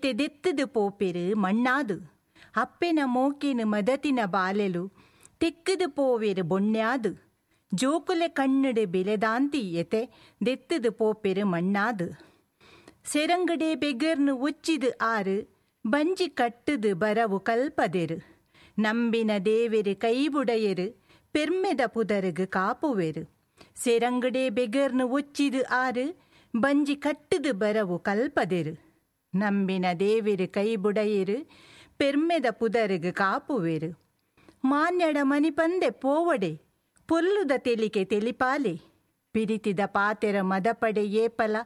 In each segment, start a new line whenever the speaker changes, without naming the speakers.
ಎತೆ ದೆತ್ತದು ಪೋಪೆರು ಮಣ್ಣಾದು ಅಪ್ಪೆನ ಮೋಕೆನು ಮದತಿನ ಬಾಲೆಲು ತೆಕ್ಕದು ಪೋವೆರು ಬೊಣ್ಯಾದು ಜೋಕುಲೆ ಕಣ್ಣುಡು ಬಿಲೆದಾಂತಿ ಎತೆ ದೆತ್ತದು ಪೋಪೆರು ಮಣ್ಣಾದು ಸೆರಂಗಡೆ ಬೆಗರ್ನು ಒಚ್ಚಿದು ಆರು ಬಂಜಿ ಕಟ್ಟುದು ಬರವು ಕಲ್ಪದೆರು ನಂಬಿನ ದೇವೆರು ಕೈಬುಡೆಯರು ಪೆರ್ಮೆದ ಪುದರುಗು ಕಾಪುವೆರು ಸೆರಂಗಡೆ ಬೆಗರ್ನು ಒಚ್ಚಿದು ಆರು ಬಂಜಿ ಕಟ್ಟುದು ಬರವು ಕಲ್ಪದೆರು ನಂಬಿನ ದೇವೆರು ಕೈಬುಡೆಯರು ಪೆರ್ಮೆದ ಪುದರುಗು ಕಾಪುವೆರು ಮಾನ್ಯಡ ಮನಿಪಂದೆ ಪೋವಡೆ ಪೊಲ್ಲುದ ತೆಲಿಕೆ ತೆಲಿಪಾಲೆ ಪಿರಿತಿದ ಪಾತೆರ ಮದಪಡೆ ಏಪಲ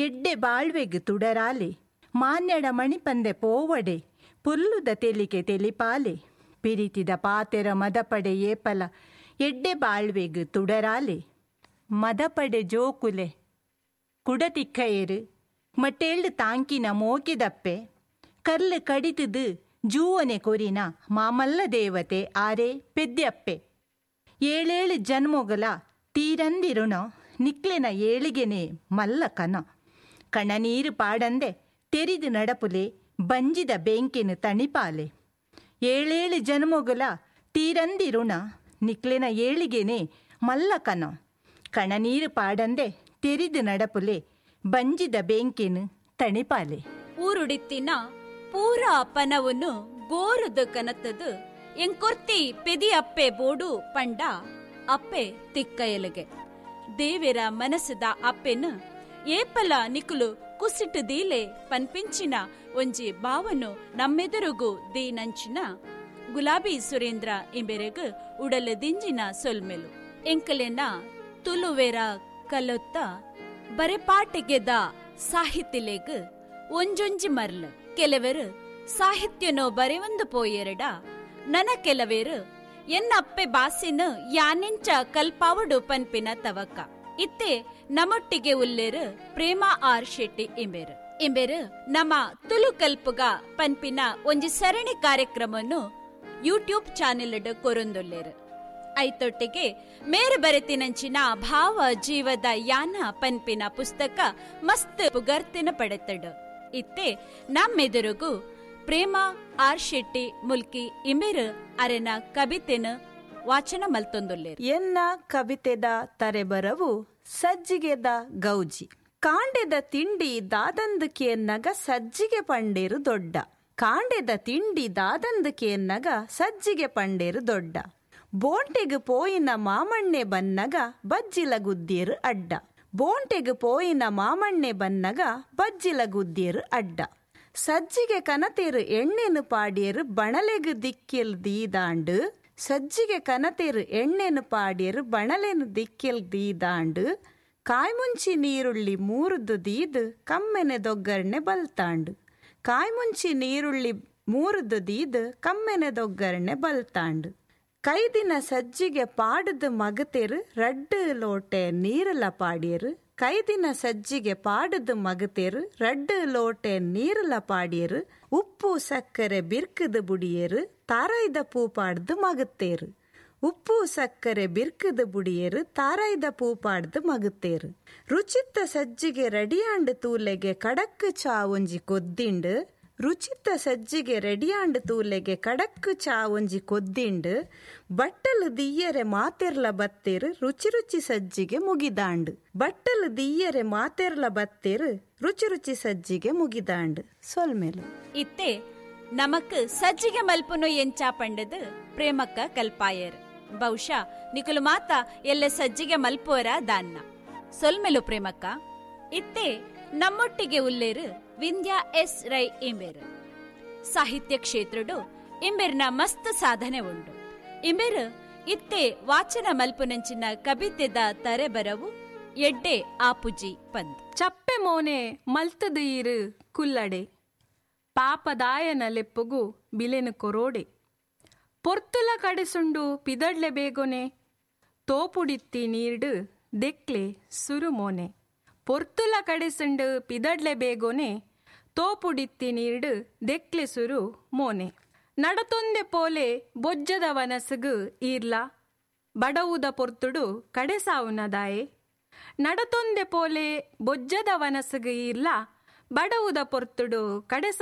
ಎಡ್ಡೆ ಬಾಳ್ವೆಗ್ ತುಡರಾಲೆ ಮಾನ್ಯಡ ಮಣಿಪಂದೆ ಪೋವಡೆ ಪೊಲ್ಲುದ ತೆಲಿಕೆ ತೆಲಿಪಾಲೆ ಪಿರಿತಿದ ಪಾತೆರ ಮದಪಡೆ ಏಪಲ ಎಡ್ಡೆ ಬಾಳ್ವೆಗ್ ತುಡರಾಲೆ ಮದಪಡೆ ಜೋಕುಲೆ ಕುಡತಿಕ್ಕಯರು ಮಟ್ಟೇಳು ತಾಂಕಿನ ಮೋಕಿದಪ್ಪೆ ಕಲ್ಲು ಕಡಿತದು ಜೂವನೆ ಕೊರಿನ ಮಾಮಲ್ಲ ದೇವತೆ ಆರೆ ಪೆದ್ಯಪ್ಪೆ ಏಳೇಳು ಜನ್ಮೊಗಲ ತೀರಂದಿರುಣ ನಿಕ್ಲೆನ ಏಳಿಗೆನೆ ಮಲ್ಲ ಕನ ಕಣನೀರು ಪಾಡಂದೆ ತೆರಿದು ನಡಪುಲೆ ಬಂಜಿದ ಬೆಂಕಿನ ತಣಿಪಾಲೆ ಏಳೇಳು ಜನ್ಮೊಗಲ ತೀರಂದಿರುಣ ನಿಕ್ಲೆನ ಏಳಿಗೆನೆ ಮಲ್ಲ ಕನ ಕಣನೀರು ಪಾಡಂದೆ ತೆರಿದು ನಡಪುಲೆ ಬಂಜಿದ ಬೆಂಕಿನ ತಣಿಪಾಲೆ.
ಊರುಡಿತ್ತಿನ ಪೂರಾ ಪನವನ್ನು ಗೋರುದು ಕನತದು ಎಂಕೊರ್ತಿ ಪೆದಿ ಅಪ್ಪೆ ಬೋಡು ಪಂಡ ಅಪ್ಪೆ ತಿಕ್ಕಯಲಗೆ ದೇವೆರ ಮನಸ್ಸದ ಅಪ್ಪೆನು ಏಪಲ ನಿಕುಲು ಕುಸಿಟು ದೀಲೆ ಪನ್ಪಿಂಚಿನ ಒಂಜಿ ಬಾವನು ನಮ್ಮೆದುರುಗು ದೀನಂಚಿನ ಗುಲಾಬಿ ಸುರೇಂದ್ರ ಇಂಬೆರೆಗು ಉಡಲ ದಿಂಜಿನ ಸೊಲ್ಮೆಲು. ಎಂಕಲೆನ ತುಲುವೆರ ಕಲೊತ್ತ ಬರೆಪಾಟಿಗೆದ ಸಾಹಿತ್ಯಲೆಗ್ ಒಂಜೊಂಜಿ ಮರ್ಲು. ಕೆಲವರು ಸಾಹಿತ್ಯನೋ ಬರೆವಂದು ಪೋಯೆರಡ ನನ ಕೆಲವೇರು ಎನ್ನ ಅಪ್ಪೆ ಬಾಸಿನ ಯಾನೆಂಚ ಕಲ್ಪಾವಡು ಪನ್ಪಿನ ತವಕ. ಇತ್ತೆ ನಮ್ಮೊಟ್ಟಿಗೆ ಉಲ್ಲೇರು ಪ್ರೇಮ ಆರ್ ಶೆಟ್ಟಿ ಇಂಬೆರು. ಇಂಬೆರು ನಮ್ಮ ತುಲು ಕಲ್ಪುಗ ಪನ್ಪಿನ ಒಂಜಿ ಸರಣಿ ಕಾರ್ಯಕ್ರಮವನ್ನು ಯೂಟ್ಯೂಬ್ ಚಾನೆಲ್ ಕೊರೊಂದುಲ್ಲೇರು. ಐತೊಟ್ಟಿಗೆ ಮೇರು ಬರೆತಿನಂಚಿನ ಭಾವ ಜೀವದ ಯಾನ ಪನ್ಪಿನ ಪುಸ್ತಕ ಮಸ್ತ್ ಪುಗರ್ತಿನ ಪಡೆತಡು. ಇತ್ತೆ ನಮ್ಮೆದುರುಗು ಪ್ರೇಮ ಆರ್ ಶೆಟ್ಟಿ ಮುಲ್ಕಿ ಇಂಬೆರು ಅರೆನ ಕವಿತೆನ ವಾಚನ ಮಲ್ತೊಂದುಲ್ಲೇರು.
ಎನ್ನ ಕವಿತೆದ ತರೆಬರವು ಸಜ್ಜಿಗೆದ ಗೌಜಿ. ಕಾಂಡೆದ ತಿಂಡಿ ದಾದಂದುಕೇನ್ನಗ ಸಜ್ಜಿಗೆ ಪಂಡೇರು ದೊಡ್ಡ. ಕಾಂಡೆದ ತಿಂಡಿ ದಾದಂದುಕೇನ್ನಗ ಸಜ್ಜಿಗೆ ಪಂಡೇರು ದೊಡ್ಡ. ಬೋಂಟೆಗು ಪೋಯಿನ ಮಾಮಣ್ಣೆ ಬನ್ನಗ ಬಜ್ಜಿಲ ಗುದ್ದಿಯರು ಅಡ್ಡ. ಬೋಂಟೆಗು ಪೋಯಿನ ಮಾಮಣ್ಣೆ ಬನ್ನಗ ಬಜ್ಜಿಲ ಗುದ್ದಿಯರು ಅಡ್ಡ. ಸಜ್ಜಿಗೆ ಕನತೇರು ಎಣ್ಣೆನು ಪಾಡಿಯರು ಬಣಲೆಗು ದಿಕ್ಕೆಲ್ ದೀದಾಂಡು. ಸಜ್ಜಿಗೆ ಕನತೇರು ಎಣ್ಣೆನು ಪಾಡಿಯರು ಬಣಲೆನು ದಿಕ್ಕೆಲ್ ದೀದಾಂಡು. ಕಾಯ್ಮುಂಚಿ ನೀರುಳ್ಳಿ ಮೂರುದು ದೀದು ಕಮ್ಮೆನೆ ದೊಗ್ಗರ್ಣೆ ಬಲ್ತಾಂಡು. ಕಾಯ್ಮುಂಚಿ ನೀರುಳ್ಳಿ ಮೂರುದು ದೀದು ಕಮ್ಮೆನೆ ದೊಗ್ಗರ್ಣೆ ಬಲ್ತಾಂಡು. ಕೈದಿನ ಸಜ್ಜಿಗೆ ಪಾಡದು ಮಗತೇರು ರಡ್ಡು ಲೋಟೆ ನೀರಲ ಪಾಡಿಯರು. ಕೈದಿನ ಸಜ್ಜಿಗೆ ಪಾಡದು ಮಗತೇರು ರಡ್ಡು ಲೋಟೆ ನೀರಲ ಪಾಡಿಯರು. ಉಪ್ಪು ಸಕ್ಕರೆ ಬಿರ್ಕದು ಬುಡಿಯರು ತಾರಾಯ್ದ ಪೂ ಪಾಡ್ದು ಮಗತೇರು. ಉಪ್ಪು ಸಕ್ಕರೆ ಬಿರ್ಕದು ಬುಡಿಯರು ತಾರಾಯ್ದ ಪೂ ಪಾಡ್ದು ಮಗತೇರು. ರುಚಿತ್ತ ಸಜ್ಜಿಗೆ ರೆಡಿಯಾಂಡು ತೂಲೆಗೆ ಕಡಕ್ಕು ಚಾ ಒಂಜಿ ಕೊದ್ದಿಂಡು. ರುಚಿತ್ತ ಸಜ್ಜಿಗೆ ರೆಡಿಯಾಂಡು ತೂಲೆಗೆ ಕಡಕ್ಕು ಚಾ ಒಂಜಿ ಕೊದ್ದಿಂಡು. ಬಟ್ಟಲು ದಿಯ್ಯರೆ ಮಾತೆರ್ಲ ಬತ್ತೇರು ರುಚಿ ರುಚಿ ಸಜ್ಜಿಗೆ ಮುಗಿದಾಂಡು. ಬಟ್ಟಲು ದಿಯ್ಯರೆ ಮಾತೆರ್ಲ ಬತ್ತೇರು ರುಚಿ ರುಚಿ ಸಜ್ಜಿಗೆ ಮುಗಿದಾಂಡು. ಸೊಲ್ಮೇಲು.
ಇತ್ತೆ ನಮಕ್ ಸಜ್ಜಿಗೆ ಮಲ್ಪುನು ಎಂಚಾ ಪಂಡದು ಪ್ರೇಮಕ್ಕ ಕಲ್ಪಾಯರ್. ಬಹುಶಃ ನಿಕುಲು ಮಾತ ಎಲ್ಲ ಸಜ್ಜಿಗೆ ಮಲ್ಪುವರ ದಾನ್ನ. ಸೊಲ್ಮೆಲು ಪ್ರೇಮಕ್ಕ. ಇತ್ತೆ ನಮ್ಮೊಟ್ಟಿಗೆ ಉಲ್ಲೇರು ವಿಂಧ್ಯಾ ಎಸ್ ರೈ ಇಂಬೆರು. ಸಾಹಿತ್ಯ ಕ್ಷೇತ್ರಡು ಇಂಬೆರ್ನ ಮಸ್ತ್ ಸಾಧನೆ ಉಂಡು. ಇಂಬೆರು ಇತ್ತೆ ವಾಚನ ಮಲ್ಪುನಂಚಿನ ಕವಿತೆದ ತರೆಬರವು ಎಡ್ಡೆ ಆಪುಜಿ ಪಂದ್.
ಚಪ್ಪೆ ಮೋನೆ ಮಲ್ತದ ಈರು ಕುಲ್ಲಡೆ ಪಾಪದಾಯನ ಲೆಪ್ಪುಗು ಬಿಲೆನು ಕೊರೋಡೆ. ಪೊರ್ತುಲ ಕಡೆಸುಂಡು ಪಿದಡ್ಲೆ ಬೇಗೊನೆ ತೋಪುಡಿತ್ತಿ ನೀರ್ಡು ದೆಕ್ಲೆ ಸುರುಮೋನೆ. ಪೊರ್ತುಲ ಕಡೆಸುಂಡು ಪಿದಡ್ಲೆ ಬೇಗೊನೆ ತೋಪುಡಿತ್ತಿ ನೀರ್ಡು ದೆಕ್ಲೆ ಸುರು ಮೋನೆ. ನಡತೊಂದೆ ಪೋಲೆ ಬೊಜ್ಜದ ವನಸುಗು ಈರ್ಲ ಬಡವುದ ಪೊರ್ತುಡು ಕಡೆಸಾವುನದಾಯೆ. ನಡತೊಂದೆ ಪೋಲೆ ಬೊಜ್ಜದ ವನಸುಗು ಈರ್ಲ ಬಡವುದ ಪೊರ್ತುಡು ಕಡೆಸಾವು.